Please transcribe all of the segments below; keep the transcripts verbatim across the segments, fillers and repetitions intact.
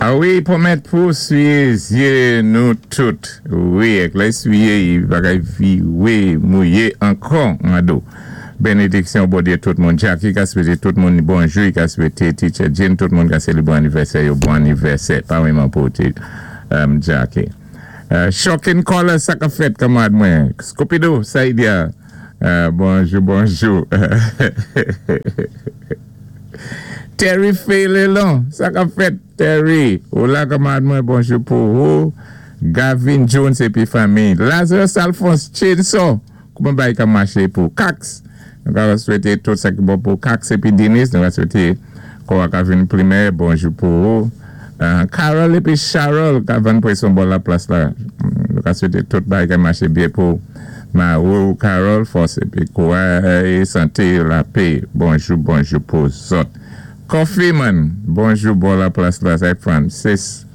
A wi, pwomèt pou swiyé zyé nou tout. Wi, èk lè swiyé, i pa kay viwé, mouyé ankò an do. Bénédiksyon Bondyé tout moun. Jackie ka swété tout moun bonjou, i ka swété Teacher Jim, tout moun ka sé bon anivèsè, yo bon anivèsè. Pa wèman pou ti um, Jackie. Uh, Shocking Caller, sa ka fèt kanmarad mwen. Scopido, Saïdia. Uh, bonjou, bonjou. Terry Faylelon, sa ka fèt Terry. Ou la kanmarad mwen, bonjou pou ou. Gavin Jones épi fanmi. Lazarus Alphonse Chainsaw. Kouman bay ka maché pou Cax. Nou ka swété tout sa ki bon pou Cax épi Denis. Nou ka swété kwa ka vin primè, bonjou pou ou. Uh, Carol épi Charol ka vann pwéson bò la plas la. Nou ka swété tout bay ka maché byen pou ma ou Carol, fòs épi kouray, santé, lapè. Bonjou, bonjou pou zòt. Coffee Man, bonjou bò la plas la, c'est Francis.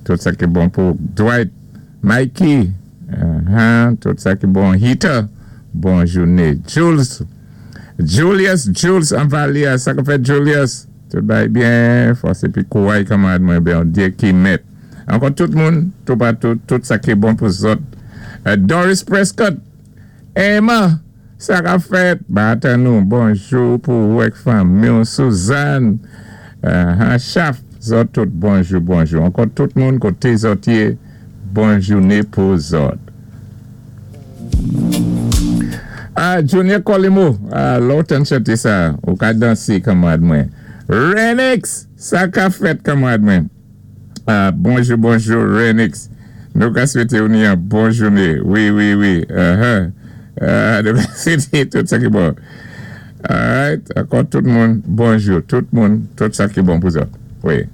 Tout sa ki bon pou Dwight, Mikey, uh-huh, tout sa ki bon Heater, bon jouné. Jules, Julius, Jules Anvalia, sa ka fèt Julius, tout bay byen, fòs épi kouray kanmarad mwen Bondyé ki mèt. Ankò tout moun, tout patou, tout sa ki bon pou zòt. Uh, Doris Prescott, Emma, sa ka fèt, batan nou, bonjou pou ou èk fanmi, Suzanne, uh, Chaf, zòt tout bonjou, bonjou. Ankò tout moun koté zòt yé, bon jouné pou zòt. Ah, Junior Colimo, ah, lòt an chanté sa, ou ka dansé kanmarad mwen. Renix, sa ka fèt kanmarad mwen. Ah, bonjou, bonjou, Renix. Nou ka swété ou ni yon bon jouné. Wi, wi, wi. Uh-huh. Uh, nou ka swété tout sa ki bon. Alright, ankò tout moun, bonjou. Tout moun, tout sa ki bon pou zòt. Wi.